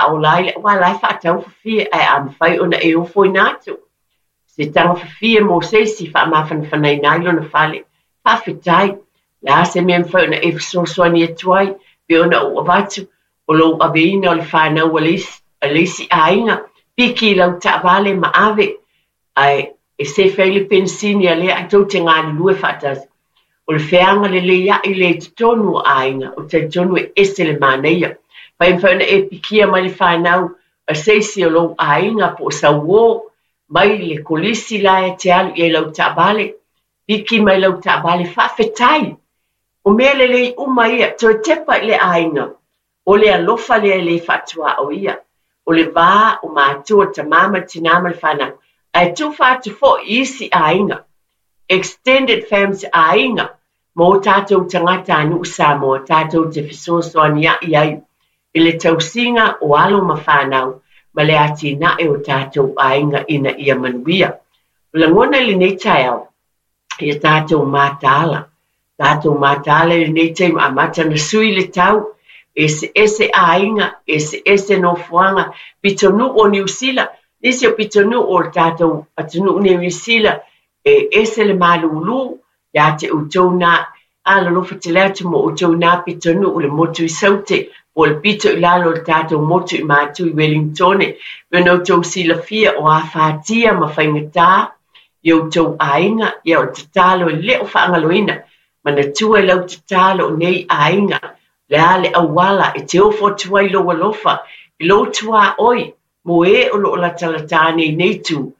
faaola ai le aua la e faatau fafie ae a mafai ona e ofoina atu se taga fafie mo se isi faamafanafanaina ai lona fale. Faafetai. O le a se mea e mafai ona e fesoasoani atu ai, pei ona ou avatu, o lou aveina o le fanau a le isi, a le isi aiga, piki i lau taavale ma ave, ae e sefe ai le penisini a lea ae tou te galulue faatasi. O le feaga lelei a'i lea i totonu o aiga, ou te talitonu e ese le manaia. Fai e mafai ona e pikia mai le fanau a se isi o lou aiga po o sau uō mai le kolisi la e te alu i ai lau taavale, piki mai lau taavale, faafetai. O mea lelei uma ia, toe tepa i le aiga. O le alofa lea e le faatuaoia. O le va o matua, le tamā ma le tinā ma le fanau. Ae tufa atu foi i isi aiga, extended families, aiga ma o tatou tagatanuu Samoa tatou te fesoasoania'i ai i le tausiga o alo ma fanau ma le atinae o tatou aiga ina ia manuia. O lagona i lenei taeao, ia tatou mataala. Tatou mataala i lenei taimi amata ona sui le tau, eseese aiga, eseese nofoaga, pitonuu o Niu Sila, nisi o pitonuu o le tatou atunuu nei o Niu Sila, e ese le malūlū ia te outou nā, alolofa tele atu mo outou nā pitonuu le motu i Saute, po o le pito i lalo o le tatou motu i Matu i Welingtone, pei ona outou silafia o afatia ma faigata i outou aiga, ia o le tatalo e le o faagaloina, manatua i lau tatalo o nei aiga, le a le auala e te ofo atu ai lou alofa i lou tuaoi mo e o lo o latalata nei i nei itu.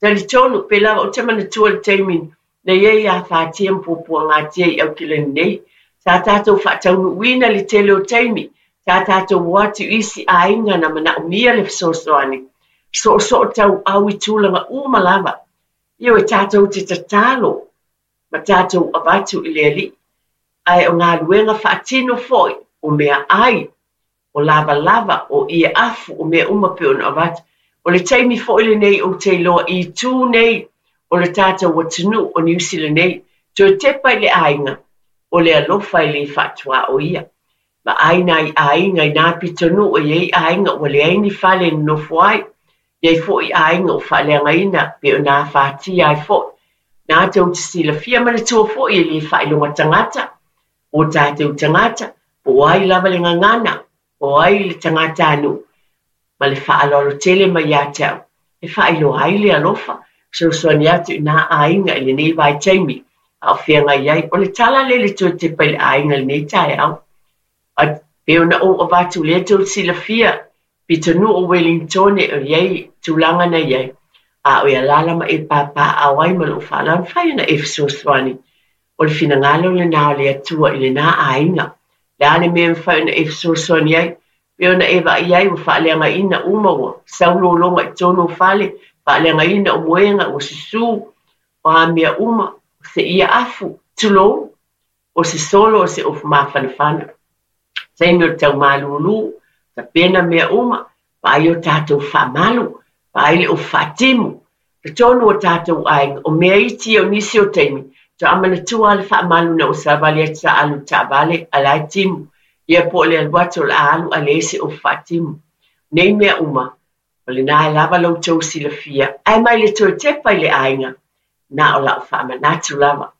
Talitonu, pei lava ou te manatua le taimi na i ai afatia ma puapuagatia i Aukilani nei, sa tatou faataunuuina le tele o taimi, sa tatou o atu i isi aiga na manaomia le fesoasoani, soosoo tauau i tulaga uma lava. Ioe, tatou te tatalo ma tatou avatu i le Alii, ae o galuega faatino foi, o meaai, o lavalava, o ie afu, o mea uma pei ona avatu. O le taimi foi lenei ou te iloa i itu nei o le tatou atunuu o Niu Sila nei, toe tepa i le aiga, o le alofa e le faatuaoia. Vaai nai aiga i nā pitonuu e i ai aiga ua leai ni fale e nonofo ai, i ai foi aiga ua faaleagaina pei ona afatia ai foi. Na tou te silafia manatua foi e le faailoga tagata, o tatou tagata, po o ai lava le gagana, po o ai le tagatanuu, ma le faaaloalo tele mai ia te au, e faailoa ai le alofa, fesoasoani atu i nā aiga i lenei vaitaimi a o feagai ai. O le tala lea i le toe tepa i le aiga i lenei taeao. Ae pei ona ou avatu lea tou te silafia, pitonuu o Welingtone o i ai tulaga na i ai, a o e alaala ma e papaaao ai ma lou faaaloalo, mafai ona e fesoasoani. O le finagalo lenā o le Atua i lenā aiga. Le a le mea e mafai ona e fesoasoani ai? Pei ona e vaai ai ua faaleagaina uma ua sau lologa i totonu o fale, faaleagaina o moega ua susū, o a mea uma, o se ia afu, tulou, o se solo o se ofu mafanafana. Taimi o le tau malūlū, tapena mea uma, vaai o tatou faamalu, vaai le ofu faatimu, totonu o tatou aiga, o mea iti ia o nisi o taimi, faatoa manatua lava le faamalu ina ua savali atu sa alu i le taavale a la e timu, ia po o le alu atu o le a alu ae leai se ofu faatimu. Nei mea uma, o lena e lava lo outou silafia, ae mai le toe tepa i le aiga, na o lau faamanatu lava.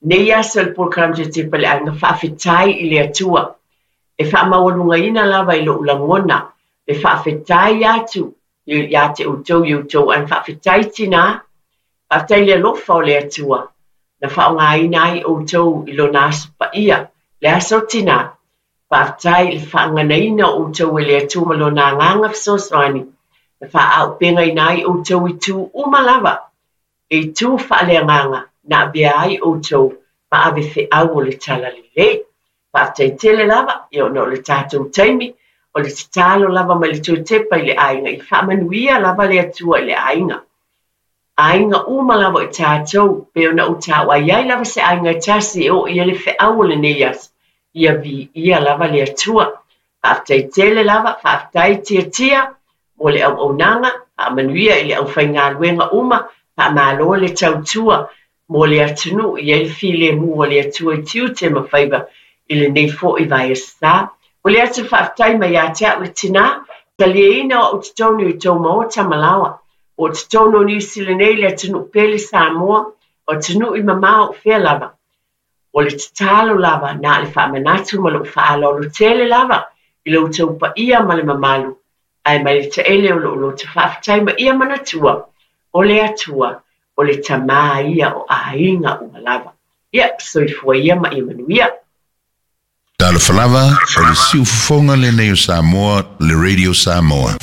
Nei aso i le polokalame toe tepa i le aiga, faafetai i le Atua. E faamaualugaina lava i lou lagona le faafetai atu ia te outou i outou aiga. Faafetai tinā, faafetai i le alofa o le Atua na faaaogaina ai outou i lona aso paia, le aso tinā. Faafetai i le faaganaina o outou e le Atua ma lona agaga fesoasoani na faaaupegaina ai outou i itu uma lava, e itu faaleagaga na avea ai outou ma ave feau o le talalelei. Faafetai tele lava, ia ona o le tatou taimi, o le tatalo lava mai le toe tepa i le aiga, ia faamanuia lava le Atua i le aiga. Aiga uma lava o tatou, pei ona ou taua e i ai lava se aiga e tasi e oo i ai le feau o lenei aso, ia viia lava le Atua. Faafetai tele lava, faafetai Tiatia mo le auaunaga, faamanuia i le aufaigaluega uma, faamalo le tautua mo le atunuu, i ai le filemu o le Atua i tiute ma faiva i lenei foi vaiaso sa. Momoli atu le faafetai mai ia te au le tinā, Taliaina o au totonu i tou maota ma laoa, o totonu o Niu Sila nei, le atunuu pele Samoa, o atunuu i mamao o fea lava. O le tatalo lava na o le faamanatu ma lou faaaloalo tele lava i lo outou paia ma le mamalu, ae mai le taele o lou loto faafetai ma ia manatua, o le Atua, o le Tama ia o aiga uma lava. Ia, soifua ia ma ia manuia. Talofa lava, o le siufofoga lenei o Samoa, le Radio Samoa.